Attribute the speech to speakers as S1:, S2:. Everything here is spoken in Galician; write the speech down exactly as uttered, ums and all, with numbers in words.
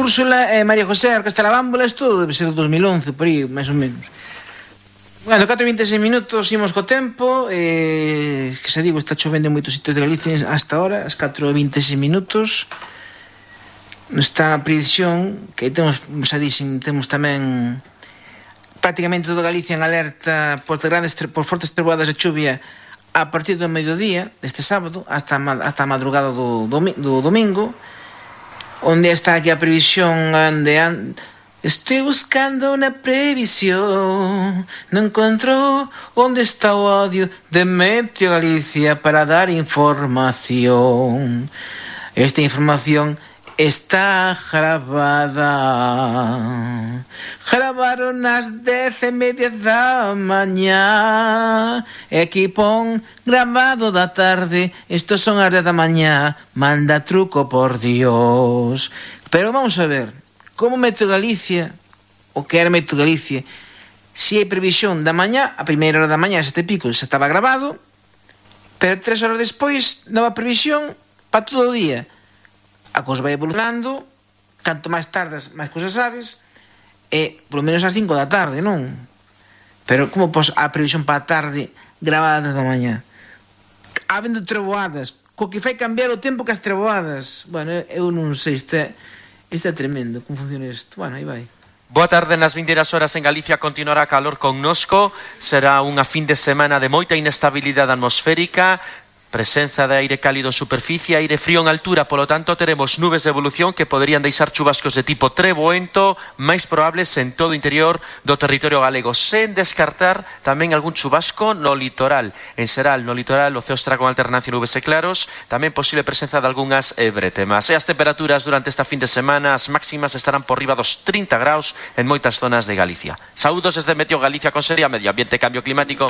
S1: Úrsula e María José Orquestra Bámbola, isto debe ser dos mil once, por aí, máis ou menos. Bueno, catro e vinte e seis minutos, imos co tempo, eh, que se digo, está chovendo en moitos sitios de Galicia hasta ahora, as catro e vinte e seis minutos. Nesta predicción, que temos, xa dixen, temos tamén prácticamente toda Galicia en alerta por, grandes, por fortes trovoadas de chuvia a partir do mediodía deste sábado hasta, hasta a madrugada do, do, do domingo, onde está aquí a previsión onde an... Estoy buscando una previsión, no encuentro onde está o audio de Meteo Galicia para dar información. Esta información está grabada. Gravaron as dez e media da mañá. E aquí pon grabado da tarde. Estos son as dez da mañá. Manda truco, por Dios. Pero vamos a ver, como Meteo Galicia, o que era Meteo Galicia, si hai previsión da mañá, a primeira hora da mañá, sete pico, xa estaba grabado, pero tres horas despois, nova previsión para todo o día. A cousa vai evolucionando, canto máis tardas, máis cousas sabes, e polo menos ás cinco da tarde, non? Pero como pos a previsión para a tarde grabada da mañá? Habendo treboadas, co que fai cambiar o tempo que as treboadas. Bueno, eu non sei, isto é, isto é tremendo, como funciona isto. Bueno, aí vai.
S2: Boa tarde, nas vindeiras horas en Galicia continuará calor connosco, será unha fin de semana de moita inestabilidade atmosférica, presenza de aire cálido en superficie, aire frío en altura, polo tanto teremos nubes de evolución que poderían deixar chubascos de tipo treboento, máis probables en todo o interior do territorio galego, sen descartar tamén algún chubasco no litoral. En Seral, no litoral, o ceo estará con alternancia nubes e claros, tamén posible presenza de algunhas brétemas. E as temperaturas durante esta fin de semana, as máximas estarán por riba dos trinta graus en moitas zonas de Galicia. Saúdos desde Meteo Galicia con Seria Medio Ambiente e Cambio Climático.